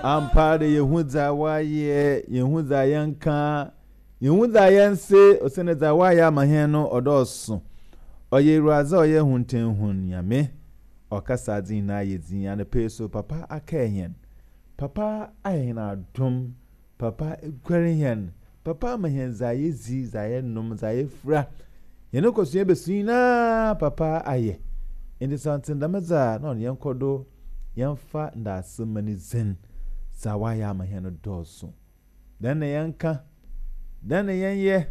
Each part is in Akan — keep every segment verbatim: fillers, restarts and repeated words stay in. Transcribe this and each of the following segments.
Ampa de, yɛhu dza wayɛ, yɛhu dza yɛnka, yɛhu dza yɛnse, ɔsɛne dza wayɛ ama hɛn no ɔdɔɔso. Ɔyɛ Ewuradze a ɔyɛ huntɛnhun Nyame. Ɔkasa adze nyinaa yɛ dzin. Anɔpa yi so, papa akae hɛn. Papa ayɛ hɛn adom. Papa eguare hɛn. Papa ama hɛn dza yɛdzi, dza yɛnom, dza yɛfura. Hɛn nkɔsua bɛsu nyinaa papa ayɛ. Nti sɛ ɔnte dɛm dza na ɔno yɛnkɔ do yɛmfa ndaase ma ne dzin. Dza wayɛ ama hɛn no dɔɔso. Dɛn na yɛnka? Dɛn na yɛnyɛ?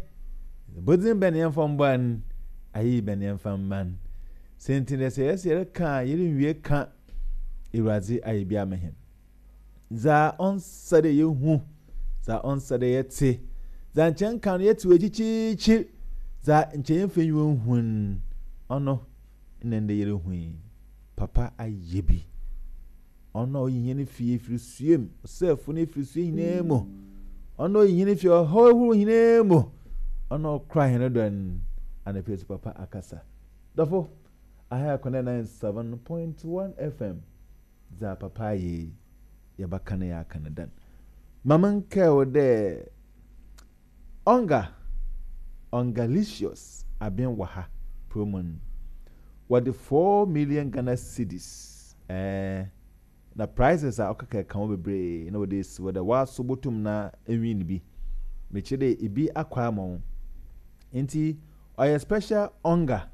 Bodzin bɛn na yɛmfa mbɔ an? Ayeyi bɛn na yɛmfa mma no? Sɛ nti dɛ sɛ yɛsɛ yɛreka a yɛrenwie ka. Ewuradze ayɛ bi ama hɛn. Dza ɔnsa dɛ yɛhu, dza ɔnsa dɛ yɛte, dza nkyɛn ka no yɛte wɔ akyikyiikyir, dza nkyɛn yɛmfa nyiwa nhun, ɔno na ndɛ yɛrehu yi. Papa ayɛ bi. Ɔno a oyi hɛn fi efirisua mu, ɔsɛɛfo no efirisua nyinaa mu. Ɔno a oyi hɛn fi ɔhaw ahorow nyinaa mu. Ɔno a ɔkora hɛn do no, anɔpa yi so papa akasa. Dɔfo, aha yɛ Connect ninety-seven point one F M. Dza papa ayɛ yi, yɛbɛka no yɛaka no dan. Ma menkae wo dɛ Onga, Ongalicious aben wɔ ha promo no. Wɔde four million Ghana cedis. Ɛɛ na prizes a ɔkeka ka ho bebree na wɔde esi hɔ dɛ wɔaso botum na ewin bi. Mekyerɛ dɛ ebi akɔ ama wo. Nti ɔyɛ special Onga